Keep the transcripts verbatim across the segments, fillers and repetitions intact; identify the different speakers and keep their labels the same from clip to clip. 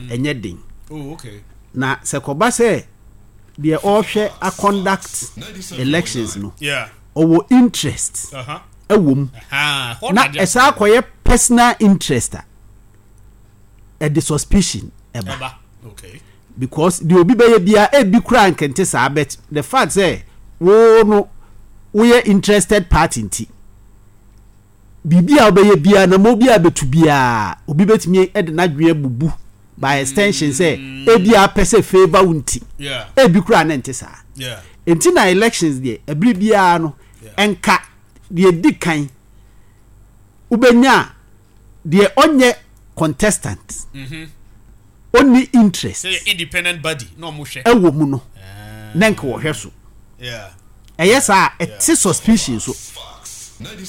Speaker 1: Ɛnyɛ den.
Speaker 2: Oh, okay.
Speaker 1: Na sɛ kɔba sɛ deɛ ɔrehwɛ a conduct elections no,
Speaker 2: Yeah.
Speaker 1: ɔwɔ interest
Speaker 2: Uh-huh.
Speaker 1: ɛwɔ mu,
Speaker 2: Ah,
Speaker 1: na ɛsaa akɔyɛ personal interest a, ɛde suspicion ɛba.
Speaker 2: Ɛba. Okay.
Speaker 1: Because deɛ obi bɛyɛ biara, ebi kura nkɛnte saa, but the fact sɛ wo no woyɛ interested party nti, biribi a wobɛyɛ biara na mo bi a bɛtu biara, obi bɛtumi de n'adwene abubu by extension sɛ ebi a pɛ sɛ favour wo nti,
Speaker 2: Yeah.
Speaker 1: ebi kura ne nte saa.
Speaker 2: Yeah.
Speaker 1: Nti na elections deɛ, ɛbere biara no, ɛnka deɛ di kan wobɛnya a, deɛ ɔnyɛ contestant, ɔnni interest
Speaker 2: Sɛ yɛ independent body na ɔmo hwɛ.
Speaker 1: Ɛwɔ mu no, na nka wɔhwɛ so.
Speaker 2: Yeah.
Speaker 1: Ɛyɛ saa, ɛte suspicion so.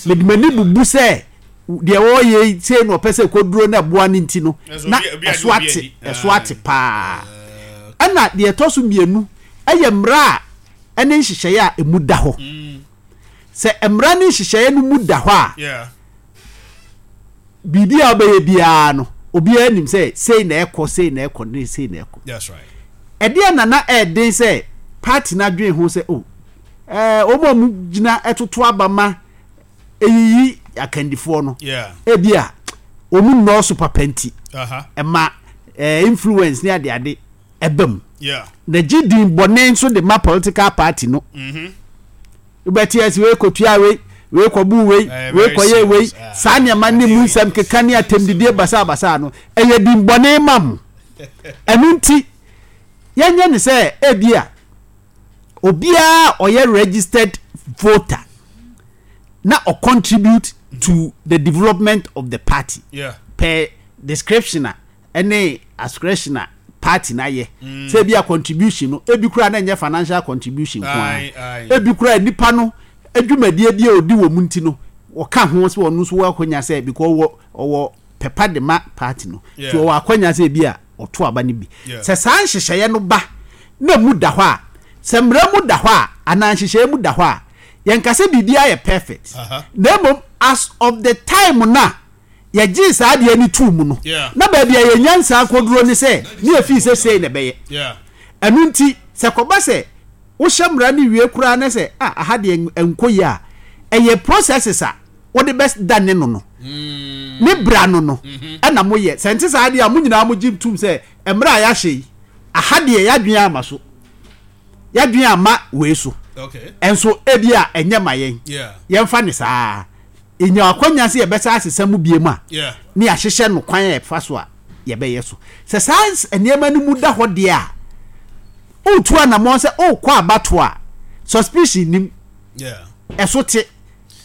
Speaker 1: Mede m'ani bubu sɛ deɛ wɔreyɛ yi sei na ɔpɛ sɛ kɔduro na ɛboa no nti no,
Speaker 2: Ɛso
Speaker 1: na
Speaker 2: obi- obi ade
Speaker 1: ɛso
Speaker 2: obi
Speaker 1: ate.
Speaker 2: adi.
Speaker 1: Ɛso ate paa. Ɛna deɛ ɛtɔ so mmienu ɛyɛ mmara a ɛne nhyehyɛeɛ a ɛmu da hɔ. Sɛ mmara ne nhyehyɛeɛ no mu da hɔ a,
Speaker 2: Yeah.
Speaker 1: biribi a wobɛyɛ biara no, obiara nim sɛ sei na ɛkɔ, sei na ɛkɔ ne sei na ɛkɔ.
Speaker 2: That's right.
Speaker 1: Ɛdeɛ nana ɛɛden sɛ party no adwene ho sɛ o ɛɛ wɔn a wɔn gyina ɛtoto aba ma eyiyi akandifoɔ no,
Speaker 2: Yeah.
Speaker 1: ebi a wɔn nnɔɔso papa nti,
Speaker 2: Uh-huh.
Speaker 1: ɛma ɛɛ influence ne adeade ɛba mu,
Speaker 2: Yeah.
Speaker 1: na gye din bɔne nso de ma political party no. Wobɛte ɛsɛ wei kɔtua wei, wei kɔbu wei,
Speaker 2: Eh,
Speaker 1: wei
Speaker 2: very
Speaker 1: kɔyɛ wei.
Speaker 2: serious. Ah.
Speaker 1: Saa nneɛma ne mu nsɛm keka ne atɛmdidie basabasa no, ɛyɛ din bɔne ma mo. Ɛno nti yɛnyɛ ne sɛ ebi a obiara a ɔyɛ registered voter na ɔcontribute to the development of the party
Speaker 2: Yeah.
Speaker 1: per description a ɛne ascription a party na yɛ sɛ ebi a contribution no, ebi kura na nyɛ financial contribution ko
Speaker 2: Aye,
Speaker 1: a,
Speaker 2: aye.
Speaker 1: ebi kura nipa no adwumadie bi a odi wɔ mu nti no, wɔka ho sɛ ɔno nso wɔ akɔnya sɛ because ɔwɔ ɔwɔ pɛpa de ma party no,
Speaker 2: Yeah.
Speaker 1: nti ɔwɔ akɔnya sɛ ebi a ɔto aba no bi.
Speaker 2: Yeah.
Speaker 1: Sɛ saa nhyehyɛeɛ no ba na mu da hɔ a, sɛ mmara mu da hɔ a anaa nhyehyɛeɛ mu da hɔ a, yɛnka sɛ biribiara yɛ perfect,
Speaker 2: Uh-huh.
Speaker 1: na mmom as of the time na yɛgyee saa adeɛ no tuu mu no,
Speaker 2: Yeah.
Speaker 1: na baabi a yɛnya nsaa kɔduro ne sɛ ne yɛfii sɛ sei na ɛbɛyɛ.
Speaker 2: Yeah.
Speaker 1: Ɛno nti sɛ kɔba sɛ wohyɛ mmara no wie koraa ne sɛ ah, aha deɛ nkɔ yi a, ɛyɛ processes a wode bɛda ne no no ne bra no no ɛna moyɛ. Sɛ nte saa deɛ a, mo nyinaa mogye tom sɛ mmerɛ a yɛahyɛ yi, aha deɛ yɛadwene ama so, yɛadwene ama wei so.
Speaker 2: Okay.
Speaker 1: Ɛnso ebi a ɛnyɛ ma yɛn,
Speaker 2: Yeah.
Speaker 1: yɛmfa ne saa ɛnya akwanya sɛ yɛbɛsa asesa mu bie mu a,
Speaker 2: Yeah.
Speaker 1: ne yɛahyehyɛ no kwan a yɛfa so a yɛbɛyɛ so. Sɛ saa ns- nneɛma no mu da hɔ deɛ a, wotu anammɔn sɛ wokɔ abatoɔ a, suspicion nim.
Speaker 2: Yeah.
Speaker 1: Ɛso te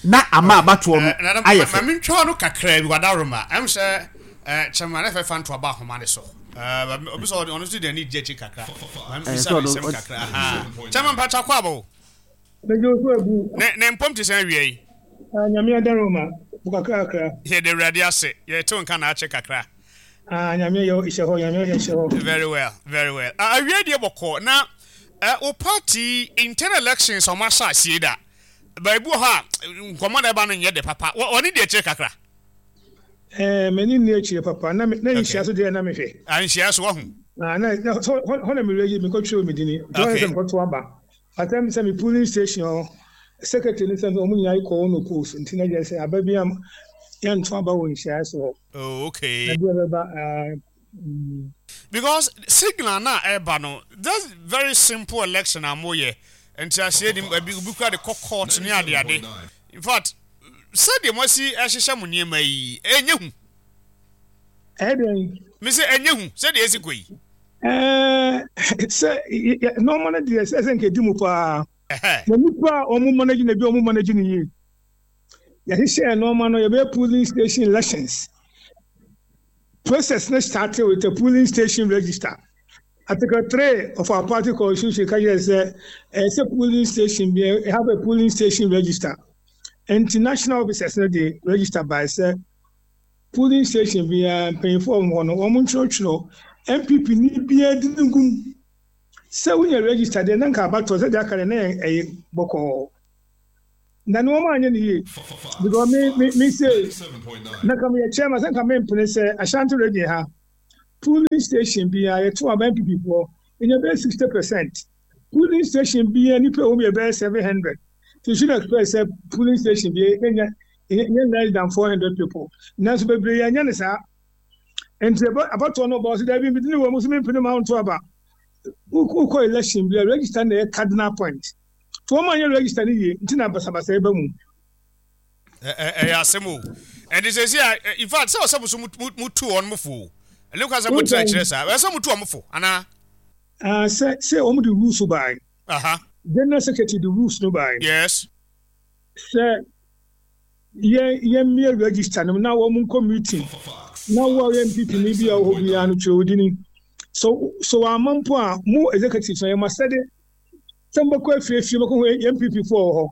Speaker 1: na ama abatoɔ no
Speaker 2: Eh,
Speaker 1: ayɛ fɛ.
Speaker 2: Ma mentwa no kakra bi, wadaroma ɛm sɛ eh, kyɛma ne fɛfa nto aba ahoma ne so. Eh, obi sɛ ɔno nso de ani gye akyi kakra. Ma
Speaker 1: Eh,
Speaker 2: mbisa
Speaker 1: sɛ
Speaker 2: ne
Speaker 1: ɔno-
Speaker 2: nsɛm
Speaker 1: ɔd-
Speaker 2: kakra. Aha. Kyɛma mpatwa kɔ aba o.
Speaker 3: Megye wo so abu.
Speaker 2: ne ne mpɔm te sɛ awia yi?
Speaker 3: Ah, Nyame adaroma wo kakrakra.
Speaker 2: Yɛde Awurade ase, yɛte nka na akyɛ kakra.
Speaker 3: Ah, Nyame yɛ hyɛ hɔ, Nyame yɛ hyɛ hɔ.
Speaker 2: Very well, very well. Ah, awie deɛ bɔkɔ na eh, wo party internal elections a ɔmo ahyɛ aseɛ da baabi wɔ hɔ a, nkɔmmɔ na ɛba no nyɛ de papa. Wɔ- ɔne deɛ akyire kakra.
Speaker 3: Eh, m'ani nni akyire papa. Na me na nhyia so deɛ na mehwɛ.
Speaker 2: Anhyia so wahu.
Speaker 3: Ah, na na so hɔ hɔ na mewura yi mekɔtwerɛ me dini. Nti hɔ
Speaker 2: Okay.
Speaker 3: sɛ mekɔto aba. Atam sɛ me polling station hɔ, secretary ne sɛ ɔmo nyinaa kɔ wɔn post nti na kyerɛ sɛ aba bi am yɛnto aba wɔ nhyia so hɔ.
Speaker 2: Oh, okay.
Speaker 3: Na bi a bɛba ah, mm,
Speaker 2: Because signal na ɛba no, that's very simple election a moyɛ nti aseɛ nim ebi obi kura de kɔ court ne ade ade. In fact, sɛdeɛ mo asi ɛhyehyɛ mo nneɛma yi, ɛnyɛ hu.
Speaker 3: Ɛyɛ dɛn?
Speaker 2: Me sɛ ɛnyɛ hu sɛdeɛ esi kɔ yi.
Speaker 3: Eh, sɛ yɛ- yɛ- nneɛma no deɛ sɛ sɛ nka edi mu paa.
Speaker 2: Ɛhɛ.
Speaker 3: Na nipa a wɔn manage na bi a wɔn manage no yie. Yɛhyehyɛ nneɛma no, yɛbɛyɛ polling station elections. Process no started with a polling station register. Article three of our party constitution ka kyerɛ sɛ ɛyɛ sɛ polling station bi have a polling station register. Nti national officers no de register by sɛ polling station biara mpanyinfoɔ a wɔn hɔ no, wɔn ntwerɛtwerɛ N P P ni biara di ne gum sɛ wonya register deɛ na nka abatoɔ sɛ deɛ aka deɛ na yɛ ɛyɛ bɔkɔɔ, na ne wɔn anyɛ ne yie because me me me say na nka meyɛ chairman sɛ nka mempene sɛ Ashanti Region ha. Polling station biara yɛto aba N P P foɔ ɛnya bɛyɛ sixty percent. Polling station biara nipa ɛwɔ mu yɛ bɛyɛ seven hundred. So you should expect sɛ polling station bi ɛnya ɛnya less than four hundred people, nanso bebree yɛnyɛ ne saa. Nti abatoɔ no bɔ ɔsɛ dɛbi bi ne wɔ mu so mempene ma nto aba. Wokɔ election bi a, register na ɛyɛ cardinal point. To wɔn a nyɛ register no yie nti na basabasa ɛba mu.
Speaker 2: Ɛyɛ asɛm o. Ɛnti sɛ si a, in fact, sɛ ɔsɛ mo so mutu wɔn mo fo ɛne kwan sɛ mo tena kyerɛ saa, ɛsɛ mo tu wɔn fo anaa?
Speaker 3: Sɛ sɛ wɔn de rules baa, general secretary de rules no baa
Speaker 2: yes
Speaker 3: sɛ yɛn yɛn mmea register no na wɔn nkɔ meeting na wɔn a yɛ N P P ni bi a wɔwɔ hɔ biara no twerɛ odini so so wɔn ama mpo a mo executive no yɛ ma sɛde sɛ mbɛkɔ afiefie mbɛkɔ hɔ yɛ N P P foɔ wɔ hɔ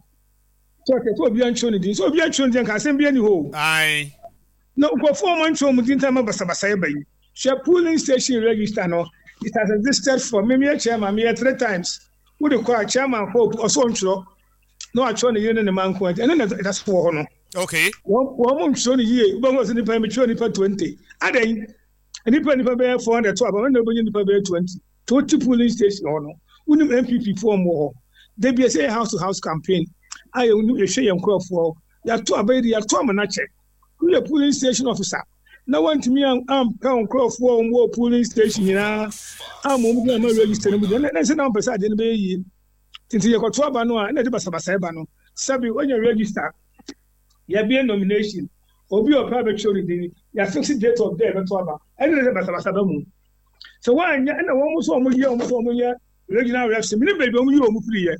Speaker 3: so ɔkɛ sɛ obiara ntwerɛ ne din, sɛ obiara ntwerɛ ne din nka asɛm bi ani hɔ o. Na nkurɔfoɔ a wɔn ntwerɛ wɔn din tam basabasa yɛ ba yi. Hwɛ, polling station register no, it has existed for me. Meyɛ chairman, meyɛ three times. Wode kɔ a, chairman kɔ, ɔsɔ ntwerɛ na watwerɛ ne yere ne ne ma nko. Ɛno na ɛda so wɔ hɔ no.
Speaker 2: Okay
Speaker 3: wɔn wɔn ntwerɛ no yie. Wobɛhu sɛ nipa metwerɛ nipa twenty adan nipa nipa bɛyɛ four hundred to aba wɔn na wobɛnya nipa bɛyɛ twenty to wote polling station hɔ no, wonim N P P foɔ wɔ hɔ. Debi ɛsɛ yɛ house to house campaign a yɛ yɛhwɛ yɛn nkurɔfoɔ. Yɛato aba yi de yɛato ama n'akyɛ. Woyɛ polling station officer na wɔntumi ampɛ wo nkurɔfoɔ a wɔn wɔ polling station nyinaa ama wɔn gyina ama register no mu deɛ, na ɛsɛ na wɔmpɛ sɛ adeɛ no bɛyɛ yie. Nti yɛkɔto aba no a, ɛna ɛde basabasa ɛba no. Sɛbi, wɔnyɛ register, yɛbie nomination, obi a ɔpɛ abɛtwerɛ ne din, yɛafix date of day bɛto aba, ɛne sɛ basabasa ba mu sɛ wɔanyɛ. Ɛna wɔn nso wɔn yɛ wɔn nso wɔn yɛ regional reps mi ne baabi wɔn yi wɔn firi yɛ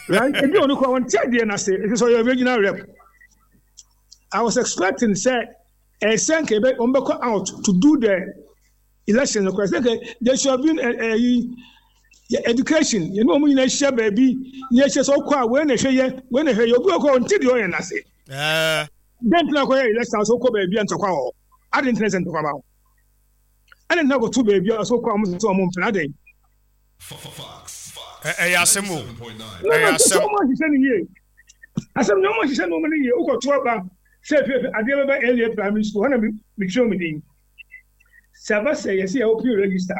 Speaker 3: right. Ebi wɔn kɔ wɔn ti adeɛ n'ase ebi sɛ ɔyɛ regional rep. I was expecting sɛ ɛsɛ nka ebe wɔn bɛkɔ out to do the election no kora sɛ nka there should have been ɛyi education, yɛn ne wɔn nyinaa ahyia baabi ne yɛhyɛ sɛ ɔkɔ a, wei na ɛhwɛ yɛ, wei na ɛhwɛ yɛ. Obi wɔ kɔ ɔnti deɛ ɔyɛ n'ase dɛn tena kɔyɛ election so kɔ baabi a ntɔkwa wɔ hɔ adi ntena sɛ ntɔkwa ba hɔ ɛna ntena kɔto baabi a so kɔ a wɔn sɛ wɔn mpena adɛn.
Speaker 2: Ɛyɛ asɛm o, ɛyɛ asɛm.
Speaker 3: Wɔn ahyehyɛ no yie, asɛm na wɔn ahyehyɛ nneɛma no yie. Wokɔto aba sɛ efe adeɛ bɛba L A Primary School hɔ na metwerɛ mu din sɛ aba sɛ yɛsɛ yɛ open register,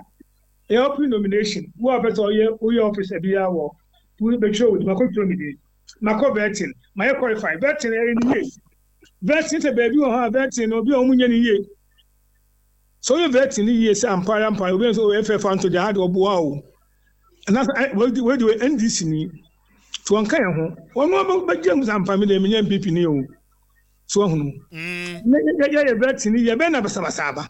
Speaker 3: yɛ open nomination. Wo a pɛ sɛ ɔyɛ woyɛ officer biara wɔ bɛtwerɛ wo din, makɔtwerɛ me din, makɔ vetting, mayɛ qualify. Vetting ɛyɛ ne yie. Vetting sɛ baabi wɔ hɔ a, vetting no obi a wɔn nyɛ ne yie sɛ ɔyɛ vetting ne yie sɛ ampara ampara obi nso ɔyɛ fɛfa nto deɛ ha de ɔboa o anaasɛ wɔde wɔde wɔ N D C ni tí wɔn ka yɛn ho, wɔn bɛgye mu sɛ ampa mi deɛ mi nyɛ N P P ni o so ɔhunu ne yɛ yɛ vetting ni yɛ bɛn na basabasa aba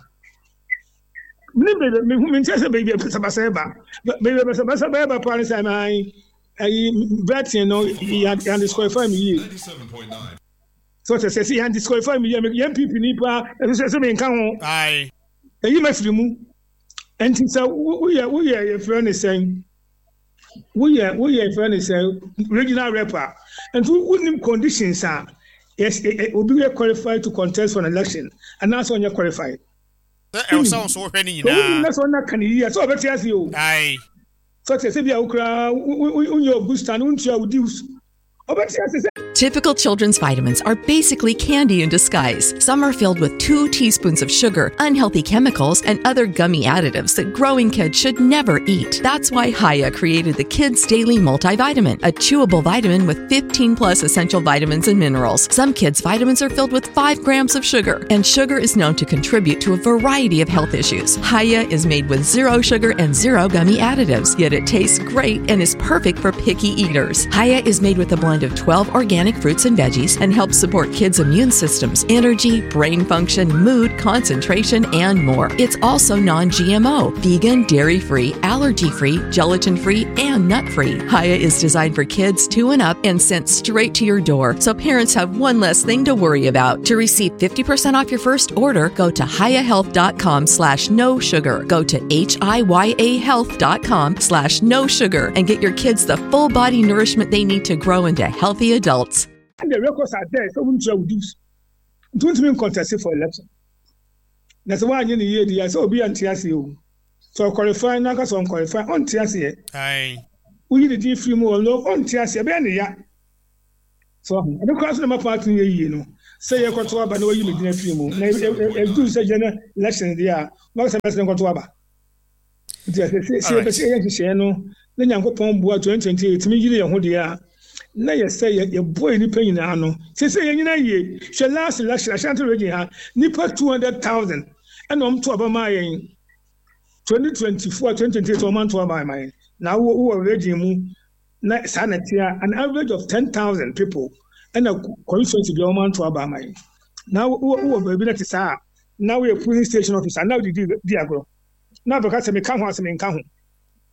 Speaker 3: ne baabi mi hu mi nkyɛn sɛ baabi basabasa ba, baabi basabasa bɛyɛ ba paa ne sɛ ɛmɛ ayi vetting no yɛ yɛ disqualify mi yie so kyɛ sɛ sɛ yɛn disqualify mi yie, yɛn N P P ni paa ɛsɛ sɛ sɛ mi nka ho ɛyi ma firi mu. Nti sɛ woyɛ woyɛ yɛfrɛ ne sɛn, woyɛ woyɛ yɛfrɛ ne sɛn, regional rep a, nti wonim conditions a yes, obi yɛ qualified to contest for an election anaasɛ ɔnyɛ qualified.
Speaker 2: Sɛ ɛwɔ sɛ nso wohwɛ ne nyinaa.
Speaker 3: Wonim na sɛ ɔna ka ne yie sɛ ɔbɛte ase o. Sɛ ɔte sɛ bi a wokura wonyɛ Augusta no wontua wo dues, ɔbɛte ase sɛ
Speaker 4: Typical children's vitamins are basically candy in disguise. Some are filled with two teaspoons of sugar, unhealthy chemicals, and other gummy additives that growing kids should never eat. That's why Hiya created the Kids Daily Multivitamin, a chewable vitamin with fifteen plus essential vitamins and minerals. Some kids' vitamins are filled with five grams of sugar, and sugar is known to contribute to a variety of health issues. Hiya is made with zero sugar and zero gummy additives, yet it tastes great and is perfect for picky eaters. Hiya is made with a blend of twelve organic fruits and veggies and helps support kids' immune systems, energy, brain function, mood, concentration, and more. It's also non G M O, vegan, dairy free, allergy free, gelatin free, and nut free. Hiya is designed for kids two and up and sent straight to your door, so parents have one less thing to worry about. To receive fifty percent off your first order, go to hiyahealth dot com slash no sugar. Go to H I Y A health dot com slash no sugar and get your kids the full body nourishment they need to grow into healthy adults.
Speaker 3: And the records are there sɛ wontua wo dues nti wontumi ncontest for election na sɛ woanyɛ ne yie deɛ sɛ obi ante aseɛ o, sɛ ɔqualify na aka sɛ ɔnqualify, ɔnte aseɛ. Woyi ne din firi mu wɔ no, ɔnte aseɛ, ɛbɛyɛ ne ya so ɔho ɛno koraa so na ma party no yɛ yie no. Sɛ yɛkɔto aba na wɔyi me din afiri mu na ɛduru sɛ general election deɛ a, wɔka sɛ mɛsene nkɔto aba. Nti sɛ sɛ yɛpɛ sɛ yɛyɛ nhyehyɛeɛ no na Nyankopɔn boa twenty twenty-eight tumi yere yɛn ho deɛ a, na yɛ sɛ yɛboa nnipa nyinaa no. Sɛ sɛ yɛn nyinaa yie, hwɛ last election, Ashanti Region ha, nnipa two hundred thousand ɛna ɔmo to aba maa yɛn twenty twenty-four, twenty twenty-eight, ɔmo anto aba maa yɛn. Na wowɔ wowɔ region mu na saa na ɛte a, an average of ten thousand people ɛna constituency bi a ɔmo anto aba ama yɛn. Na wowɔ wowɔ baabi na te saa a, na woyɛ polling station officer na wode di di agorɔ na abɛka sɛ meka ho asɛm, nka ho.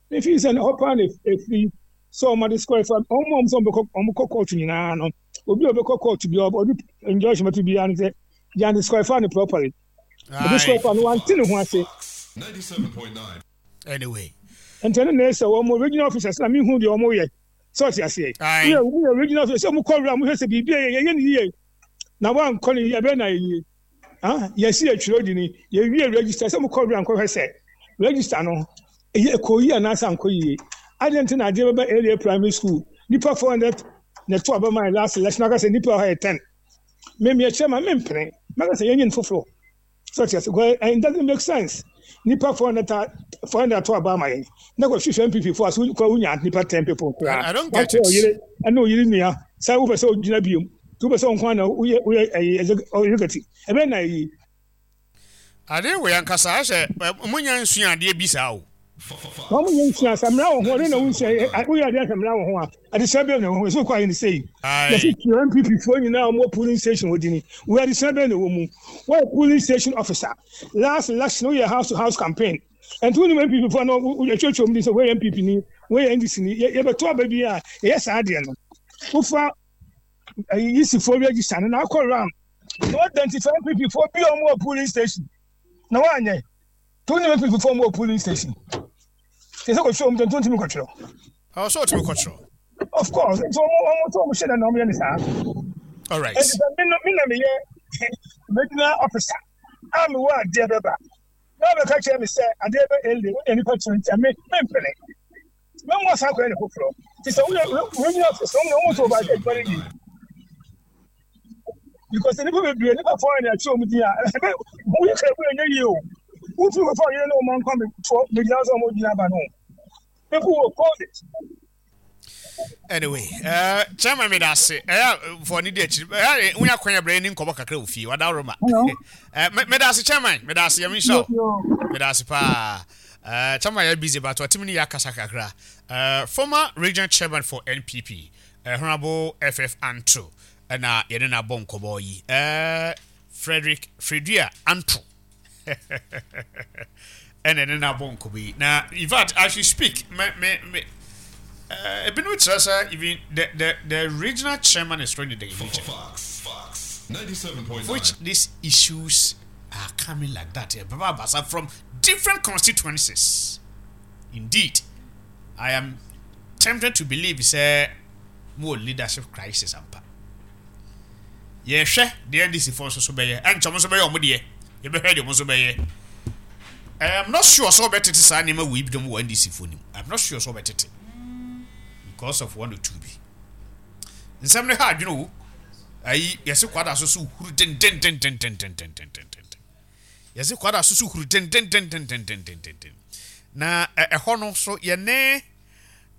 Speaker 3: Mefii sɛ hɔ paa na ɛfiri sɛ ɔmo disqualify ɔmo a ɔmo sɛ ɔmo ɔmo kɔ court nyinaa no. Obi a ɔbɛkɔ court bi a ɔde injunction bɛto biara no sɛ yɛn disqualify no properly, disqualify no, wante ne ho ase.
Speaker 2: Anyway.
Speaker 3: Nti ɛno na ɛsɛ wɔn regional officers na mehu deɛ ɔmo yɛ sɛ ɔte aseɛ. Woyɛ woyɛ regional officer sɛ ɔmo kɔ wura mo hwɛ sɛ biribi a yɛyɛ ne yie na wankɔ ne yie, ɛbɛyɛ na yɛ yie. Ah, yɛsi atwerɛ di ni, yɛwie register sɛ mo kɔ wura nkɔhwɛ sɛ register no ɛyɛ ɛkɔ yie anaasɛ ankɔ yie. Adeɛ nti na adeɛ bɛba area primary school, nipa four hundred na ɛto aba maa last election, aka sɛ nipa ɔha yɛ ten. Mmemme ɛkyerɛ ma mempene mɛka sɛ yɛnyɛ no foforɔ so ɔte ase, because it doesn't make sense. Nipa four hundred four hundred ato aba ama yɛn na kɔ hwehwɛ N P P fo aso kɔ wonya nipa ten people koraa.
Speaker 2: I don't get it.
Speaker 3: Ɔyere ɛne ɔyere nua sɛ wopɛ sɛ ogyina biom tí wopɛ sɛ ɔnko ana woyɛ woyɛ ɛyɛ executive, ɛbɛn na ɛyi.
Speaker 2: Ade wɔ yɛn kasa ahyɛ mo nya nsua adeɛ bi saa o.
Speaker 3: Wɔn mo nyɛ nsua sɛ mmara wɔ ho ɔde na wonsua, woyɛ adeɛ sɛ mmara wɔ ho a, adesua bɛn na ɛwɔ ho? Ɛsɛ okɔ ayɛ ne sɛyi yɛsi tua N P P foɔ nyinaa a wɔwɔ polling station wɔ dini wɔyɛ. Adesua bɛn na ɛwɔ mu? Wɔyɛ polling station officer, last election woyɛ house to house campaign, ɛnti wɔn N P P foɔ no yɛtwerɛtwerɛ mu di sɛ wɔyɛ N P P ni, wɔyɛ N D C ni. Yɛbɛto aba bi a yɛyɛ saa adeɛ no, wofa ɛyi yisifoɔ register no na akɔ round na wɔ identify N P P foɔ bi a wɔn wɔ polling station na wɔanyɛ to ne N P P foɔ wɔn wɔ polling station te sɛ kɔtwerɛ wɔn tó ntumi kɔtwerɛ.
Speaker 2: Ɔwɔ sɛ ɔtumi kɔtwerɛ.
Speaker 3: Of course, nti wɔn wɔn tó wɔn hyɛ dɛ na wɔn yɛ ne saa.
Speaker 2: All right.
Speaker 3: Nti sɛ mi no mi na mi yɛ regional officer a mi wɔ adeɛ bɛba na ɔbɛka kyerɛ mi sɛ adeɛ bɛ ɛle wɔn yɛ nipa twenty a, mi mi mpene mɛ mo asan akɔyɛ ne foforɔ. Ti sɛ woyɛ regional officer, wɔn na wɔn tó ba adwuma no yie, because nipa bebree, nipa four na ɛkyerɛ wɔn din a ɛbɛ woyɛ kɛ ɛbɛ ɛnyɛ yie o. Wotumi kɔfɔ ɔyere ne wɔn nkɔ mi toɔ mi gyina sɛ wɔn gyina aba no, people will call it.
Speaker 2: Anyway, uh, chairman, me da ase. Ɛyɛ fɔ ne di akyiri, ɛyɛ wonya kwan abrɛ ni nkɔmɔ kakra wɔ fie wada roma. Me da ase, chairman, me da ase. Yɛmi nhyira wo, me da ase paa. uh, chairman yɛ busy but ɔtumi ne yɛ akasa kakra. uh, former regional chairman for N P P, uh, Honorable F F Anto, ɛna yɛne no abɔ nkɔmɔ yi. uh, Frederick Fredua Anto ɛna ɛne no abɔ nkɔmɔ yi. Na in fact, as you speak, me me me ebinom kyerɛ sɛ even the the the regional chairman is already the region.
Speaker 5: Fox, Fox, ninety-seven point nine.
Speaker 2: Which these issues are coming like that. Eh, Baba Basa from different constituencies. Indeed, I am tempted to believe sɛ more leadership crisis ampa. Yɛhwɛ deɛ N D C foɔ nso so bɛyɛ, ɛnkyɛn nso bɛyɛ ɔmo deɛ, yɛbɛhwɛ deɛ ɔmo nso bɛyɛ. I'm not sure sɛ ɔbɛtete saa nneɛma wei bi dɔm wɔ N D C foɔ nim. I'm not sure sɛ ɔbɛtete because of one or two bi. Nsɛm no ha adwene o. Ayi yɛsi kwada so so huru dendendendendendendendenden, yɛsi kwada so so huru dendendendendendendenden. Na ɛhɔ no so yɛne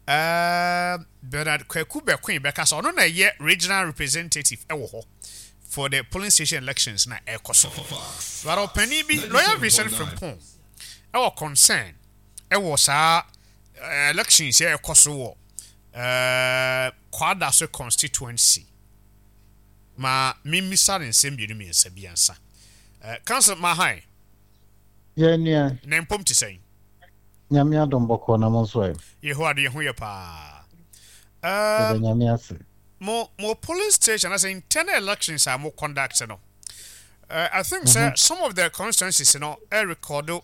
Speaker 2: ɛɛ Bernard Kwaku Bɛkoe bɛkasa. Ɔno na ɛyɛ regional representative ɛwɔ hɔ for the polling station elections na ɛkɔ so. But ɔpanin bi, Lawyer Vincent Frimpong, ɛwɔ concern ɛwɔ saa elections yɛ ɛkɔ so wɔ ɛɛ Kwadaso constituency. Ma mimmisa ne nsɛm mmienu mmiɛnsa bi ansa. ɛɛ council mahan.
Speaker 6: Yɛn nua.
Speaker 2: Na mpom te sɛn?
Speaker 6: Nyame adom, bɔkɔɔ. Na mo nso ɛ?
Speaker 2: Yehowa de, yɛn ho yɛ paa.
Speaker 6: Yɛda
Speaker 2: um,
Speaker 6: Nyame ase.
Speaker 2: mo mo polling station as internal elections a mo conduct no, uh, I think sɛ some of the constituencies no ɛ record uh,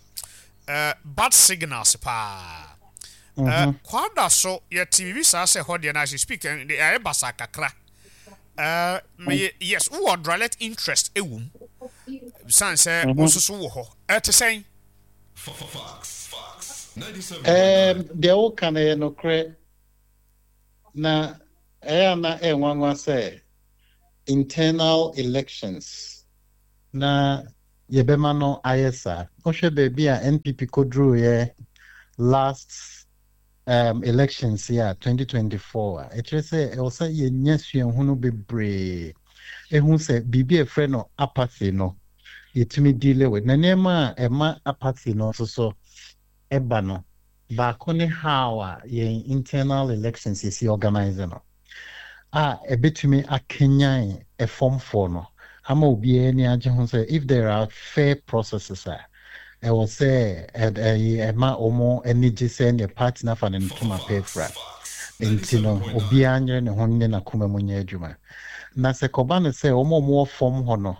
Speaker 2: bad signals paa. uh, kwada so yɛte biribi saa sɛ hɔ deɛ no, as you speak, eh, ɛyɛ basa kakra. uh, meyɛ yes, wowɔ direct interest ɛwɔ mu san sɛ wo nso so wɔ hɔ. Ɛte sɛn?
Speaker 5: Fox, Fox, ninety-seven point nine.
Speaker 6: Ɛɛm, deɛ woka no yɛ nokorɛ, na ɛyɛ a na ɛnwanwa sɛ Internal elections na yɛbɛma no ayɛ saa. Wohwɛ baabi a N P P kɔduruiɛ last um, elections yi a twenty twenty-four a, ɛkyerɛ sɛ ɛwɔ sɛ yɛnya suahunu bebree ɛhu sɛ biribi a ɛfrɛ no apathy no, yɛtumi deal with. Na nneɛma a ɛma apathy no nso so ɛba no, baako ne how a yɛn internal elections yɛsi organize no a ɛbɛtumi akanyan ɛfɔmfoɔ no ama obiara ani agye ho sɛ if there are fair processes a, ɛwɔ sɛ ɛyi ɛma wɔn ani gye sɛ neɛ party no afa ne ntoma pɛ fra. Nti no obiara nyere ne ho ne n'akoma mu nyɛ adwuma. Na sɛ kɔba no sɛ wɔn a wɔwɔ fam hɔ no,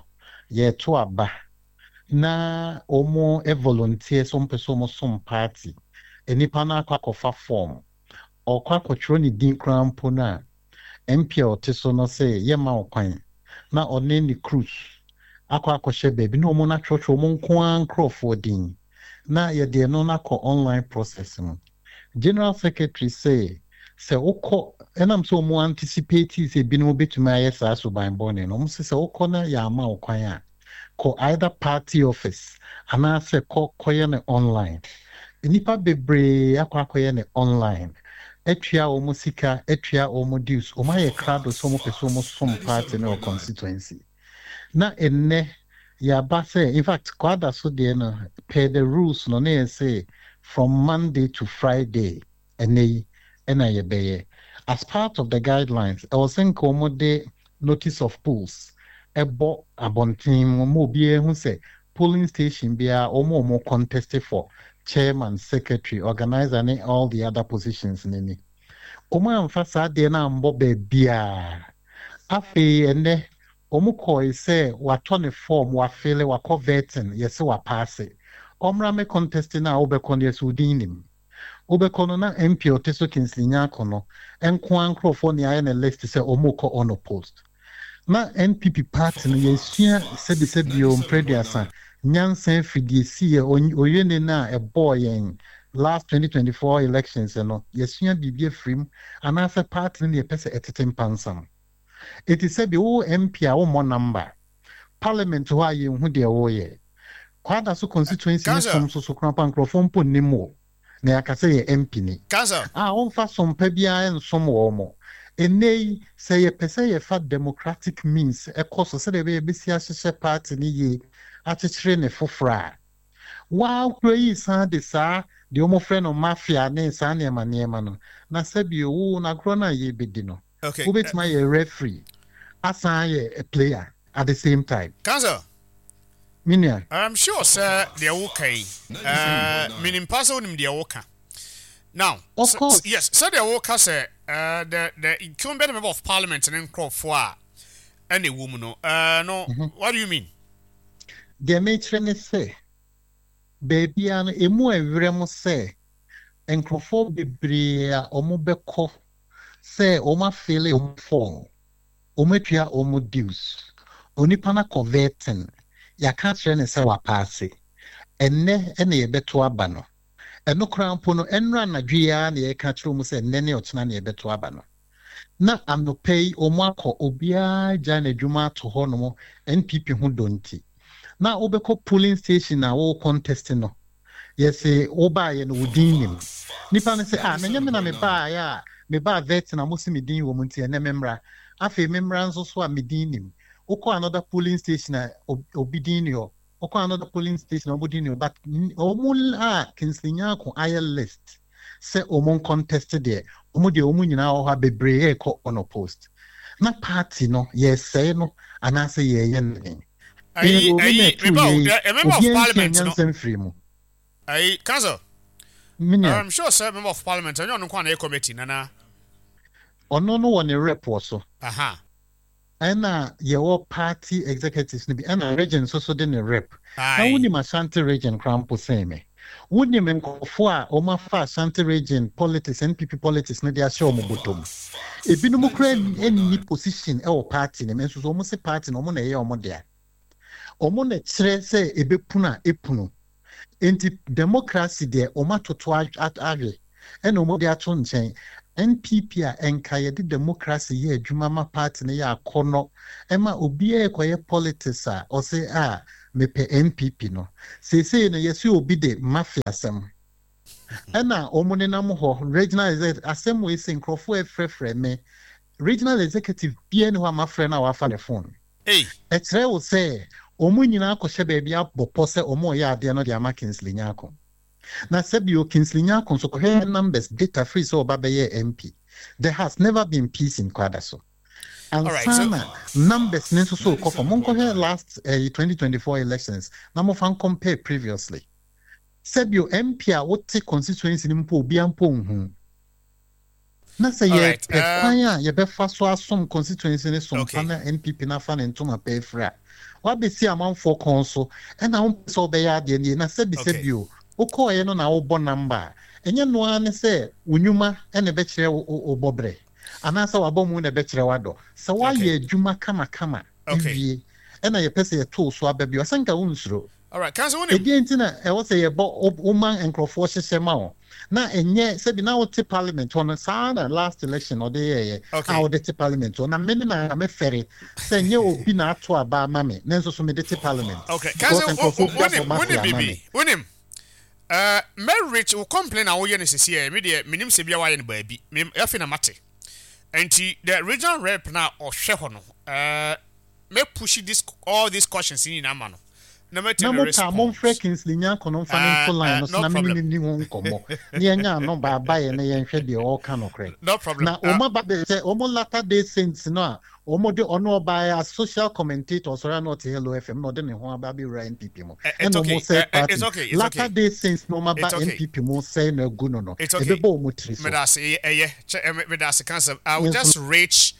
Speaker 6: yɛreto aba na wɔn volunteer sɛ wɔn pɛ sɛ wɔn som party, nipa no akɔ akɔfa form, ɔkɔ akɔtwerɛ ne din koraa mpo no a, M P a ɔte so no sɛ yɛma wo kwan na ɔne ne crews akɔ akɔhyɛ baabi na wɔn atwerɛtwerɛ wɔn nko ara nkurɔfoɔ din na yɛde ɛno no akɔ online process mu. General secretary sɛ sɛ wokɔ, ɛnam sɛ wɔn anticipate sɛ ebinom bɛtumi ayɛ saa suban bɔne no, wɔn sɛ sɛ wokɔ na yɛama wo kwan a, kɔ either party office anaasɛ kɔ kɔyɛ no online. Nnipa bebree akɔ akɔyɛ no online, atua wɔn sika, atua wɔn dues, wɔn ayɛ krado sɛ wɔn pɛ sɛ wɔn som party no wɔ constituency. Na ɛnnɛ yɛaba sɛ, in fact, kwada so deɛ no, per the rules no, ne yɛ sɛ from Monday to Friday, ɛnɛ yi ɛna yɛbɛyɛ. As part of the guidelines, ɛwɔ sɛ nka wɔn de notice of polls ɛbɔ abɔnten mu ma obiara hu sɛ polling station biara, wɔn a wɔn contest for chairman, secretary, organizer ne all the other positions n'ani. Wɔn amfa saa adeɛ no ambɔ baabiara. Afei ɛnɛ wɔn kɔɔ sɛ watɔ ne form, wafill, wakɔ vetting, yɛsɛ wapass, ɔmmra me contest no a, wobɛkɔ no, yɛsɛ odin nim. Wobɛkɔ no na M P a ɔte so, Kingsley Nyarko no nko ara nkurɔfoɔ ne ayɛ ne list sɛ ɔmo kɔ unopposed. Na N P P party no, yɛsua sɛbisɛbi o mprɛduasa nyansa afidie si yɛ oyene no a ɛbɔɔ yɛn last twenty twenty-four elections no, yɛsua biribi afiri mu anaasɛ party no ne yɛpɛ sɛ ɛtete mpansam. Ɛti sɛbi wo M P a wommɔ number parliament hɔ a, yɛnhu deɛ wɔreyɛ. Kwada so constituency ne som so so koraa pa, nkurɔfoɔ mpo nnim wo na yɛaka sɛ yɛ M P ni a wɔmfa sompa biara nsom wɔ mo. Ɛnnɛ yi sɛ yɛpɛ sɛ yɛfa democratic means ɛkɔ so sɛdeɛ ɛbɛyɛ bɛsi ahyehyɛ party no yie, akyekyere ne foforɔ a, waa kura yi san de saa deɛ wɔfrɛ no mafia ne saa nneɛma nneɛma no. Na sɛbi wo n'agorɔ no a yɛbɛdi no,
Speaker 2: Okay.
Speaker 6: wobɛtumi ayɛ referee asan ayɛ a player at the same time.
Speaker 2: Council.
Speaker 6: Menua.
Speaker 2: I'm sure sɛ deɛ woka yi, uh, menim pa sɛ wonim deɛ woka. Now,
Speaker 6: Of
Speaker 2: s-
Speaker 6: course.
Speaker 2: yes, sɛdeɛ woka sɛ uh, the, the incumbent member of parliament ne nkurɔfoɔ a ɛna ɛwɔ mu no, uh, no, what do you mean?
Speaker 6: Deɛ mekyerɛ ne sɛ baabia no emu ɛwerɛ mu sɛ nkurɔfoɔ bebree a wɔn bɛkɔ sɛ wɔn afill wɔn form, wɔn atua wɔn dues, onipa no akɔ vetting, yɛaka kyerɛ ne sɛ wapass, ɛnnɛ ɛna yɛbɛto aba no. Ɛno koraa mpo no, ɛnnora anadwo yi ara na yɛka kyerɛ wɔn sɛ ɛnnɛ ne ɔkyena na yɛbɛto aba no. Na anɔpa yi wɔn akɔ, obiara gya n'adwuma ato hɔnom N P P ho dɔ nti. Na wobɛkɔ polling station a wɔwɔ contest no, yɛsɛ wobaayɛ no, wo din nim. Nipa no sɛ, ah, na nyɛ me na mebaayɛ a mebaa vet na mo se me din wɔ mu, nti ɛnɛ memmra. Afei memmra nso so a, me din nim. Wokɔ another polling station a, ob- obi din ni hɔ. Wokɔ another polling station a, ɔmo din ni hɔ, but n- ɔmo a Kingsley Nyarko ayɛ list sɛ ɔmo contest deɛ, ɔmo deɛ, ɔmo nyinaa wɔ hɔ a bebree ɛrekɔ unopposed. Na party no, yɛsɛe no anaasɛ yɛyɛ no den?
Speaker 2: Ayi,
Speaker 6: Obi na
Speaker 2: ayi,
Speaker 6: ɛtu
Speaker 2: meba o,
Speaker 6: yɛ yi,
Speaker 2: the- a member of
Speaker 6: obiara nsua
Speaker 2: parliament no,
Speaker 6: nyansa mfiri mu.
Speaker 2: Ayi, council.
Speaker 6: Menua.
Speaker 2: I'm sure sɛ member of parliament, ɛnyɛ ɔno nko a na ɛyɛ committee, nana.
Speaker 6: Ɔno no wɔ ne rep wɔ so.
Speaker 2: Aha.
Speaker 6: Ɛna yɛwɔ party executives no bi, ɛna region nso so de ne rep. Na
Speaker 2: Aye.
Speaker 6: wonim Ashanti Region koraa mpo sɛn me. Wonim nkurɔfoɔ a wɔafa Ashanti Region politics, N P P politics no de ahyɛ wɔn bɔtɔm. Ebinom koraa nni position ɛwɔ party no mu, nso so wɔn se party no, wɔn na ɛyɛ wɔn dea, wɔn na kyerɛ sɛ ebɛpunu a epunu. Nti democracy deɛ, wɔn atoto ahwe ɛna wɔn de ato nkyɛn. N P P a ɛnka yɛde democracy yɛ adwuma ma party no yɛ akɔnɔ, ɛma obiara kɔyɛ politics a ɔsɛ a mepɛ N P P no. Seesei no, yɛsɛ obi de mafia asɛm ɛna wɔn nenam hɔ. Regional executive asɛm wei sɛ nkurɔfoɔ ɛfrɛfrɛ me, regional executive biara ni hɔ a mafrɛ no a wafa ne phone.
Speaker 2: Hey.
Speaker 6: Ɛkyerɛ wo sɛ wɔn nyinaa akɔhyɛ baabi abɔ pɔ sɛ wɔn reyɛ adeɛ no de ama Kingsley Nyarko. Na sɛbio, Kingsley Nyarko nso, kɔhwɛ numbers data free sɛ ɔba bɛyɛ M P, there has never been peace in Kwadaso.
Speaker 2: Alright, so-
Speaker 6: Ansana numbers ne nso so kɔ fam. Monkɔhwɛ last uh, twenty twenty-four elections na mofa compare previously. Sɛbio, M P a wote constituency no mpo, obia mpo nhu na sɛ
Speaker 2: Alright,
Speaker 6: yɛpɛ
Speaker 2: um,
Speaker 6: kwan a yɛbɛfa so asom constituency ne som
Speaker 2: Okay.
Speaker 6: pa na N P P nafa ne ntoma pɛ afiri a wabɛsi amanfoɔ kɔn so, ɛna wompɛ sɛ wobɛyɛ adeɛ no yie na sɛbi
Speaker 2: Okay.
Speaker 6: sɛbio wokɔɔyɛ no na wobɔ number a ɛnyɛ noa ne sɛ wo nnwuma ɛna ɛbɛkyerɛ wo- wo wo bɔberɛ anaasɛ wabɔ mu na ɛbɛkyerɛ w'adɔ sɛ woayɛ adwuma kamakama
Speaker 2: Okay.
Speaker 6: awie, ɛna yɛpɛ sɛ yɛtoo so aba bio, ɔsɛ nka wonsuro.
Speaker 2: All right, council, wonim.
Speaker 6: Ɛdeɛ nti na ɛwɔ sɛ yɛbɔ wo- woma nkurɔfoɔ hyehyɛ ma wo na ɛnyɛ sɛbi na wote parliament hɔ no saa na last election ɔde yɛɛyɛ
Speaker 2: Okay.
Speaker 6: a wode te parliament hɔ na mene na mefɛre sɛ nyɛ obi na ato aba ama me na nso so mede te parliament
Speaker 2: Okay,
Speaker 6: because
Speaker 2: council,
Speaker 6: nkurɔfoɔ bi
Speaker 2: wonim,
Speaker 6: abɔ
Speaker 2: wonim
Speaker 6: mafia ama
Speaker 2: bibi,
Speaker 6: me.
Speaker 2: Wonim. Uh, marriage wo complain a woyɛ no sisi ɛ, me deɛ menim sɛ bia wayɛ no baabi. Me afi na mate. Nti the regional rep na ɔhwɛ hɔ no, uh, me push this all these questions nyinaa ma no. Na mɛte
Speaker 6: Na
Speaker 2: ne
Speaker 6: mo pa
Speaker 2: response.
Speaker 6: Momfrɛ Kingsley Nyarko no mfa ne
Speaker 2: Ah,
Speaker 6: nto line
Speaker 2: ah,
Speaker 6: no so
Speaker 2: no
Speaker 6: na mene
Speaker 2: problem.
Speaker 6: ne ni ho nkɔmmɔ na yɛnya ano baabayɛ na yɛnhwɛ deɛ ɔreka nokorɛ.
Speaker 2: No problem.
Speaker 6: Na
Speaker 2: Uh,
Speaker 6: ɔmo aba bɛ sɛ ɔmo latter day saints no a ɔmo de ɔno ɔbaa as social commentator, ɔsɔre a na ɔte Hello F M na ɔde ne ho aba abɛwura N P P mu
Speaker 2: Eh, it's
Speaker 6: ɛna
Speaker 2: okay.
Speaker 6: ɔmo sɛ
Speaker 2: Eh, eh,
Speaker 6: party
Speaker 2: it's okay. It's
Speaker 6: latter
Speaker 2: okay.
Speaker 6: day saints na ɔmo aba
Speaker 2: It's okay.
Speaker 6: N P P mu sɛe na agu no no
Speaker 2: It's okay.
Speaker 6: ɛbɛbɔ ɔmo tiri so.
Speaker 2: Medase, ɛyɛ kyɛ ɛ medase, council. I will
Speaker 6: Yes,
Speaker 2: just reach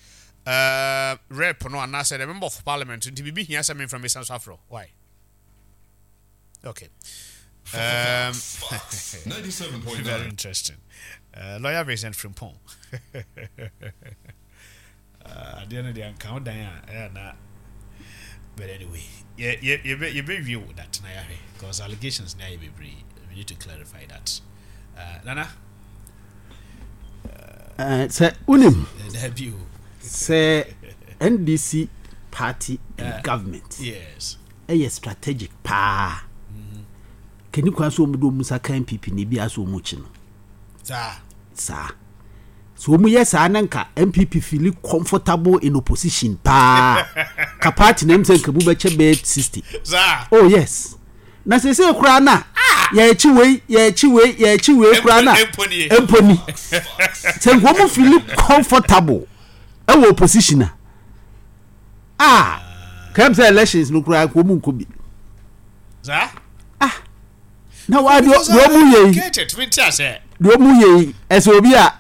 Speaker 2: uh, rep no anaasɛ the member of parliament nti biribi hia sɛ memfra mesan so afrɛ. Why? Okay. Um,
Speaker 5: Fox ninety-seven point nine.
Speaker 2: Very interesting. Uh, Lawyer Vincent Frimpong. Uh, adeɛ no deɛ nka wo dan a ɛyɛ na, but anyway, yɛ yɛ yɛbɛ yɛbɛwie wo that na yɛahwɛ because allegations na yɛ bebree. We need to clarify that. Uh, Nana,
Speaker 1: Eh, sɛ wonim
Speaker 2: dabi o.
Speaker 1: Sɛ N D C party and government
Speaker 2: Yes.
Speaker 1: ɛyɛ strategic paa kani kwan so ɔmu de ɔmu nsa ka N P P na ebi asɛ ɔmu kyi no.
Speaker 2: Saa.
Speaker 1: Saa so ɔmu yɛ saa na nka N P P feel comfortable in opposition paa ka party na m sɛ nka mu bɛkyɛ bɛyɛ sixty.
Speaker 2: Saa.
Speaker 1: Oh yes, na sese koraa na yɛakyi wei, yɛakyi wei, yɛakyi wei koraa na
Speaker 2: Mpo nie.
Speaker 1: Mpo ni sɛ nka ɔmu feel comfortable ɛwɔ opposition a a kɛm sɛ elections no koraa nka ɔmu nkɔ bi.
Speaker 2: Saa.
Speaker 1: Na wa deɛ deɛ ɔmu yɛ yi
Speaker 2: Get it. Mi ti ase.
Speaker 1: Deɛ ɔmu yɛ yi, ɛsɛ obi a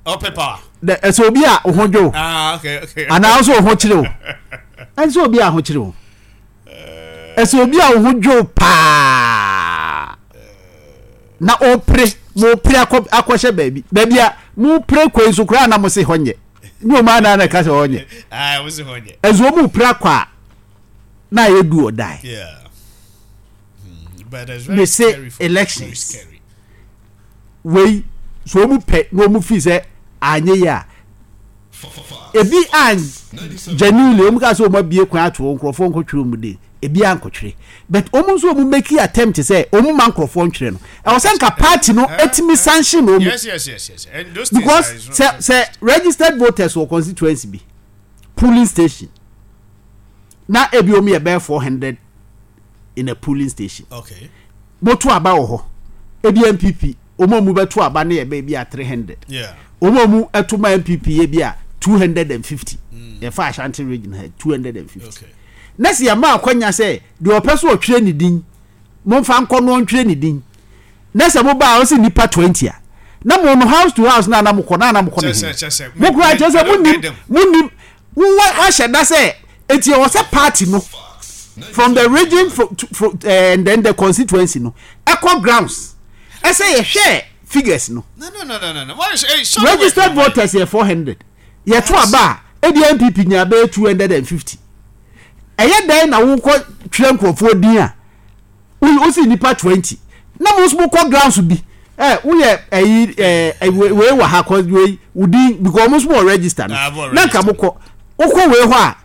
Speaker 2: Ɔpɛ power.
Speaker 1: dɛ- ɛsɛ obi a ɔho dwo
Speaker 2: Ah, okay, okay.
Speaker 1: anaa nso ɔho kyerɛ o, ɛsɛ obi a ɔho kyerɛ o, ɛsɛ obi a ɔho dwo paa na ɔpere mo pere akɔ akɔhyɛ baabi baabi a mo pere kwan so koraa na mo se hɔ nyɛ ne ɔmo anan na ɛka sɛ hɔ nyɛ.
Speaker 2: Ah, wo si hɔ nyɛ.
Speaker 1: Ɛsɛ ɔmo pere akɔ a na ayɛ du ɔdae.
Speaker 2: Yeah. Hmm, but it's very
Speaker 1: They say
Speaker 2: scary for
Speaker 1: elections.
Speaker 2: Very scary.
Speaker 1: Wei so ɔmo pɛ na ɔmo fi sɛ anyɛ yie a ebi an genuinely ɔmo ka sɛ ɔmo abie kwan ato hɔ, nkurɔfoɔ nkɔtwerɛ ɔmo de ebi ankɔtwerɛ, but ɔmo nso ɔmo make attempt sɛ ɔmo ma nkurɔfoɔ ntwerɛ no, ɛwɔ sɛ nka party no etimi sanction ɔmo.
Speaker 2: Yes, yes, yes, yes. And those things
Speaker 1: Because
Speaker 2: are,
Speaker 1: sɛ sɛ registered voters wɔ constituency bi polling station na ebi ɔmo yɛ bɛyɛ four hundred in a polling station,
Speaker 2: Okay.
Speaker 1: moto aba wɔ hɔ, ebi N P P ɔmo a ɔmo bɛto aba no yɛ bɛyɛ bi a three hundred,
Speaker 2: Yeah.
Speaker 1: ɔmo a ɔmo ɛto ma N P P yɛ bi a two hundred and fifty, yɛfa Ashanti Region ha, two hundred and fifty.
Speaker 2: Okay.
Speaker 1: Na sɛ yɛma akwanya sɛ deɛ ɔpɛ so ɔtwerɛ ne din, momfa nkɔ no ɔntwerɛ ne din, na sɛ mobaa ɔsɛ nipa twenty a na mo no house to house na ana mokɔ na ana mokɔ ne
Speaker 2: Kyɛ
Speaker 1: he
Speaker 2: sɛ- kyɛ sɛ-
Speaker 1: mo kura kyerɛ sɛ
Speaker 2: I don't
Speaker 1: monim
Speaker 2: get them.
Speaker 1: Monim wowɔ wahyɛ da sɛ eti ɛwɔ sɛ party no from the region from, to, from, uh, and then the constituency no ɛkɔ grounds ɛsɛ yɛhwɛ figures no.
Speaker 2: No, no, no, no, no, no. Why is hey, shut
Speaker 1: Registered
Speaker 2: away.
Speaker 1: voters yɛ four hundred, yɛto aba a ebi N P P nya bɛyɛ two hundred and fifty. Ɛyɛ dɛn na wokɔ twerɛ nkurɔfoɔ din a wo wosi nipa twenty na mo nso mokɔ grounds bi Ɛ woyɛ ɛyi ɛ wei wɔ ha kɔ wei wodi because ɔmo nso wɔ register no.
Speaker 2: Ah, wɔ
Speaker 1: Na nka
Speaker 2: register.
Speaker 1: mo kɔ wokɔ wei hɔ a,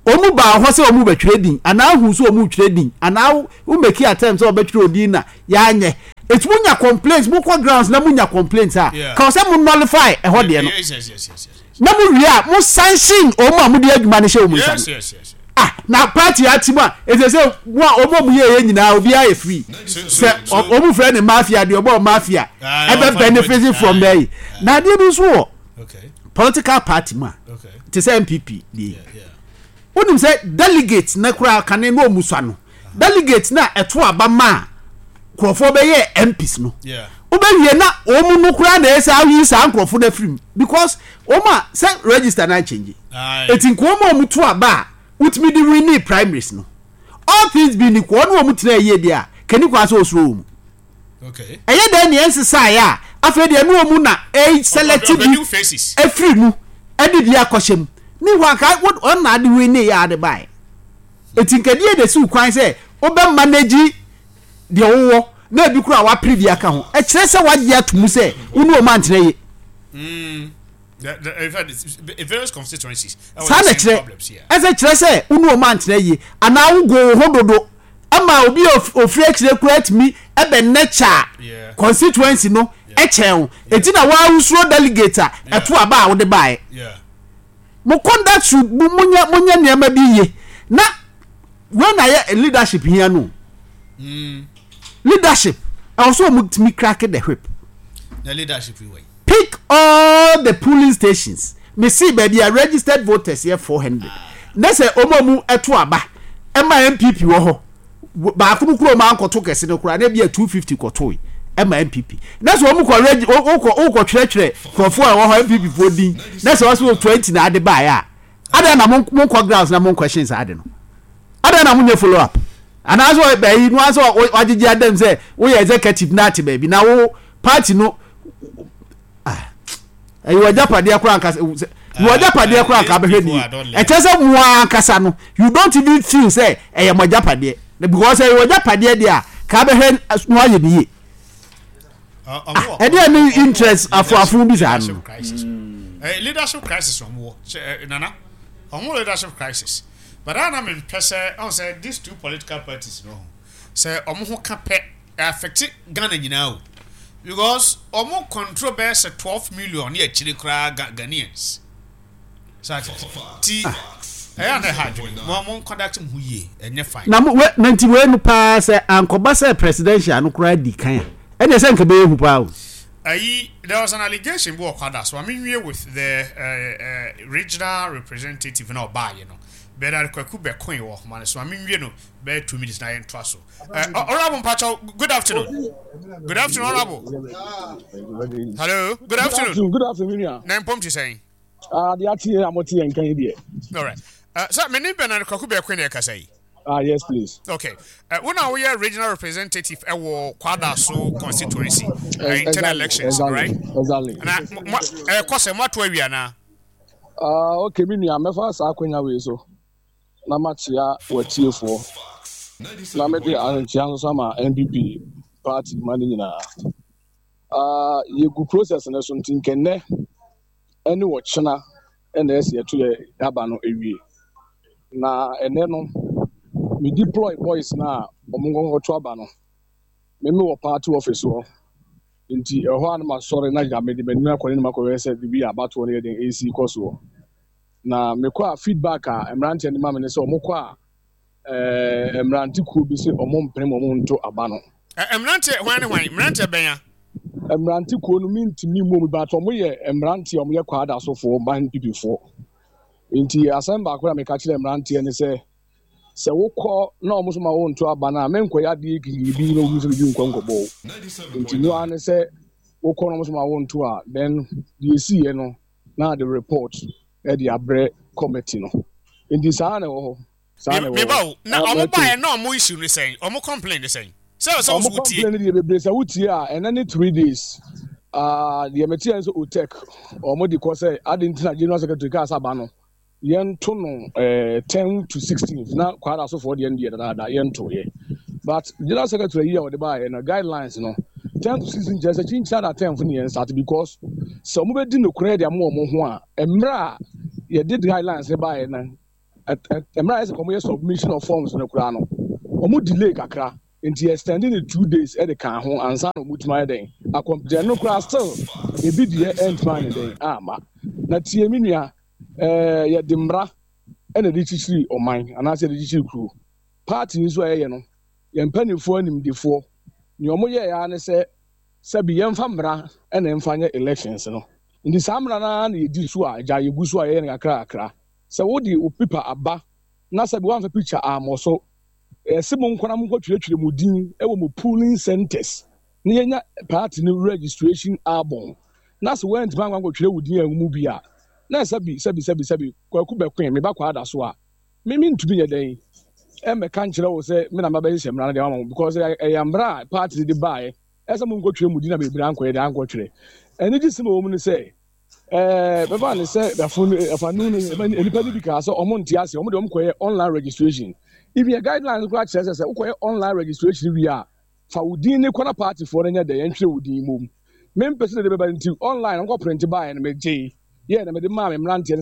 Speaker 1: ɔmo baa hɔ sɛ ɔmo bɛtwerɛ din anaa ahu sɛ ɔmo twerɛ din anaa wo make attempt sɛ ɔbɛtwerɛ odin na yɛanyɛ eti mo nya complaints, mo kɔ grounds na mo nya complaints a,
Speaker 2: Yeah.
Speaker 1: ka sɛ mo nullify ɛhɔ deɛ no
Speaker 2: Yes, yes, yes, yes, yes.
Speaker 1: na mo wie a, mo sanction ɔmo a mo de adwuma no hyɛ ɔmo nsa
Speaker 2: Yes,
Speaker 1: no.
Speaker 2: yes, yes.
Speaker 1: Ah, na party ati mu a, ete sɛ mo a ɔmo a mo yɛ yɛ nyinaa, obiara yɛ free
Speaker 2: So, so,
Speaker 1: sɛ
Speaker 2: so,
Speaker 1: ɔ- ɔmo frɛ ne mafia deɛ, ɔbɔ mafia
Speaker 2: Ah,
Speaker 1: ɛbɛ
Speaker 2: ɔfa
Speaker 1: benefit
Speaker 2: ne
Speaker 1: from
Speaker 2: ah,
Speaker 1: there yi. Na adeɛ bi nso wɔ
Speaker 2: okay,
Speaker 1: political party mu a,
Speaker 2: okay.
Speaker 1: te sɛ N P P deɛ,
Speaker 2: Yeah, yeah.
Speaker 1: Wonim sɛ delegate na koraa kane na ɔmu sua no, delegate na ɛto aba ma a nkurɔfoɔ bɛyɛ M Ps no,
Speaker 2: Yeah.
Speaker 1: wobɛwie na wɔn no koraa na ɛsɛ ayi saa nkurɔfoɔ no afiri mu because wɔn a sɛ register na nkyɛngye.
Speaker 2: Aye.
Speaker 1: Eti nka wɔn a wɔn to aba a wotumi de win primaries no, all things being equal, ɔne wɔn tena yie deɛ a kani kwan sɛ osuro wɔn mu.
Speaker 2: Okay.
Speaker 1: Ɛyɛ dɛ nea nsesaeɛ a, afei deɛ ne wɔn mu na ɛyi select
Speaker 2: Of the
Speaker 1: bi
Speaker 2: new faces.
Speaker 1: Efiri mu ɛde bi akɔhyɛ mu ne hɔ aka ɔna ade win ne yɛ ade baeɛ. Eti nkadeɛ de siw kwan sɛ wobɛ manage deɛ wowɔ na ebi kura wapere bi aka ho, ɛkyerɛ sɛ wagye ato mu sɛ wo ne wɔn antena yie.
Speaker 2: Mm. The, the, in fact, it's, it's various constituencies.
Speaker 1: Saa na kyerɛ, ɛsɛ kyerɛ sɛ wo ne wɔn antena yie anaa wogo wo ho dodo ama obi a of- ofiri akyire kura atumi ɛbɛ nɛkya
Speaker 2: Yeah.
Speaker 1: constituency no ɛkyɛn wo, eti na wɔahusuro delegate a ɛto aba a wode baeɛ.
Speaker 2: Yeah.
Speaker 1: Mo conduct should mo monyɛ monyɛ nneɛma bi yie na when na yɛ leadership hia no.
Speaker 2: Mm.
Speaker 1: Leadership ɛwɔ so wɔn tumi crack the whip.
Speaker 2: The leadership way.
Speaker 1: Pick all the polling stations, me see baabi a registered voters yɛ four hundred ne sɛ wɔn a mu ɛto aba ɛma N P P wɔ hɔ baako no kuro ɔmo ankɔto kɛse no koraa na ebi yɛ two fifty kɔto yi ɛma N P P, na sɛ wɔn kɔ regi wɔkɔ wɔkɔ twerɛtwerɛ nkurɔfoɔ a ɛwɔ hɔ N P P foɔ din na sɛ wɔsɛ twenty na ade baeɛ a, adan na mo mo nkɔ grounds na mo nkɔ saa ade no, adan na mo nyɛ follow up anaasɛ bɛyi no asɛ wagyegye adam sɛ woyɛ executive na ate baabi na wo party no, ah, ɛyɛ w'agyapadeɛ koraa nkasa wɔ agyapadeɛ koraa nka bɛhwɛ ni. Ɛkyɛ sɛ mo ankasa no, you don't even feel sɛ ɛyɛ mo agyapadeɛ because ɛyɛ w'agyapadeɛ deɛ a, ka bɛhwɛ no ayɛ ne yie. Ɛdeɛ ne interest afoafo bi saa no.
Speaker 2: Leadership crisis ɔmo wɔ, Nana, ɔmo leadership crisis, but ana mi mpɛ sɛ ɔn sɛ these two political parties no sɛ ɔmo ho ka pɛ affect Ghana nyinaa o, because ɔmo control bɛyɛ sɛ twelve million ne akyire koraa Ghanaians ti ɛyɛ ana ɛha adwene mo mo conduct mo ho yie, ɛnyɛ fine.
Speaker 1: Na mo we na nti wei no paa sɛ ankɔba sɛ presidential no koraa di kan a, ɛnna sɛ nka bɛyɛ hu paa o.
Speaker 2: Ayi, there was an allegation bi wɔ Kwada so ame with the uh, uh, regional representative na ɔbaayɛ no, Bernard Kwaku Bɛkoe wɔ ɔhoma no so. Ame nwie no bɛyɛ two minutes na yɛn to so. Honorable Mpacho, good afternoon. Good afternoon, Honorable. Hello, good afternoon.
Speaker 7: Good afternoon.
Speaker 2: Na mpom ti sɛn?
Speaker 7: Ah, deɛ ate a mote yɛn nkan yi deɛ.
Speaker 2: All right. Uh, sir, me name Bernard Kwaku Bɛkoe na ɛkasa yi.
Speaker 7: Ah, yes, please.
Speaker 2: Okay. Uh, when are we a regional representative ɛwɔ Kwadaso constituency uh, internal elections,
Speaker 7: exactly,
Speaker 2: right?
Speaker 7: Exactly.
Speaker 2: Na mo eh kɔ sɛ mo ato awie ana?
Speaker 7: Ah, okay, me nua, mɛfa saa akonnwa wei so na makyea w'atiefoɔ na mede ahenkyea nso ama N P P party ma no nyinaa. Ah, yɛgu process no so, nti nkɛnnɛ ɛne wɔkyena ɛna ɛsɛ yɛto yɛ aba no awie. Na ɛnɛ no, me deploy boys na ɔmo nkɔnkɔto aba no. Meme wɔ party office hɔ, nti ɛhɔ a na masɔre na gya mede m'anim akɔ ne makɔhwɛ sɛ biribi a abatoɔ no yɛ den ɛsi kɔ soɔ. Na mekɔ a, feedback a mmeranteɛ no ma me ne sɛ ɔmo kɔ a, ɛɛ mmerante kuo bi sɛ ɔmo mpene ma ɔmo nto aba no.
Speaker 2: Mmeranteɛ hwan ne hwan? Mmeranteɛ bɛn a?
Speaker 7: Mmerante kuo no mentumi mmɔ mu, but ɔmo yɛ mmeranteɛ a ɔmo yɛ Kwadasofoɔ ma N P P foɔ. Nti asɛm baako a meka kyerɛ mmeranteɛ ne sɛ, sɛ wokɔ na ɔmo so ma wonto aba no a, menkɔyɛ adeɛ gidigidi na obi nso bibi nkɔ nkɔbɔ wo. Nti no ara ne sɛ wokɔ na ɔmo so ma wonto a, then deɛ esiiɛ no na de report ɛde abrɛ committee no. Nti saa na ɛwɔ hɔ, saa na ɛwɔ hɔ.
Speaker 2: Meba o, na ɔmo baeɛ na ɔmo issue ne sɛn? Ɔmo complain ne sɛn? Sɛ sɛ
Speaker 7: ɔmo
Speaker 2: wo tie.
Speaker 7: Complain deɛ bebree sɛ wotie a, ɛnɛ ne three days ah, deɛ mete yɛn sɛ OTEC ɔmo de kɔ sɛ ade nti na general secretary kaa sɛ aba no yɛnto no eh, ten to sixteen na Kwadasofoɔ deɛ no deɛ dadaada yɛnto yɛ, but general secretary yi a ɔde baayɛ no, guidelines no Ten to six nkyerɛ sɛ kyinkyina na tenth ne yɛn start, because sɛ ɔmo bɛdi nokorɛ de ama ɔmo ho a, mmerɛ a yɛde guidelines ne baeɛ no, mmerɛ a yɛ sɛ ɔmo yɛ submission of forms no koraa no, ɔmo delay kakra, nti extending the two days ɛde ka ho ansa na ɔmo tuma yɛ dɛn akɔmputa no koraa. Still ebi deɛ ɛntuma yɛ dɛn ama na tie mi nua. ɛɛ yɛde mmara ɛna ɛde kyikyiri ɔman anaasɛ yɛde kyikyiri kuro. Party nso a yɛyɛ no, yɛn mpanimfoɔ animdefoɔ nea wɔn yɛ ya ne sɛ, sɛbi, yɛmfa mmara ɛna mfa nyɛ elections no. Nti saa mmara naa na yɛdi so a gya yɛgu so a yɛyɛ no kakra kakra. Sɛ wode wo paper aba na sɛbi woamfa picture ammɔ so, ɛsɛ mo nkɔla mo nkɔtwerɛtwerɛ mo din ɛwɔ mo polling centers na yɛnya party no registration album, na sɛ woantumi ankɔ ankɔtwerɛ wo din a ɛwɔ mu bi a, na sɛbi sɛbi sɛbi sɛbi, Kwaku bɛkoe meba kɔ ada so a, me mentumi nyɛ dɛn ɛmmɛka nkyerɛ wo sɛ me na mabɛhyehyɛ mmara no deɛ ama mo, because ɛyɛ mmara a party no de baeɛ ɛsɛ mo nkɔtwerɛ mu din na bebree ankɔyɛ deɛ ankɔtwerɛ. Ɛno gye sɛm a ɛwɔ mu no sɛ ɛɛ bɛfa ne sɛ ɛfo ɛfanu no, nipa no bi kaa sɛ ɔmo nte ase, ɔmo de ɔmo kɔyɛ online registration. Even yɛ guidelines koraa kyerɛ sɛ sɛ wokɔyɛ online registration wie a, fa wo din ne kɔna party foɔ no nyɛ dɛ yɛntwerɛ wo din mom. Mempɛ sɛ de bɛba nti online ɔnkɔ print baeɛ no, megye yɛ na mede maa me mmeranteɛ no.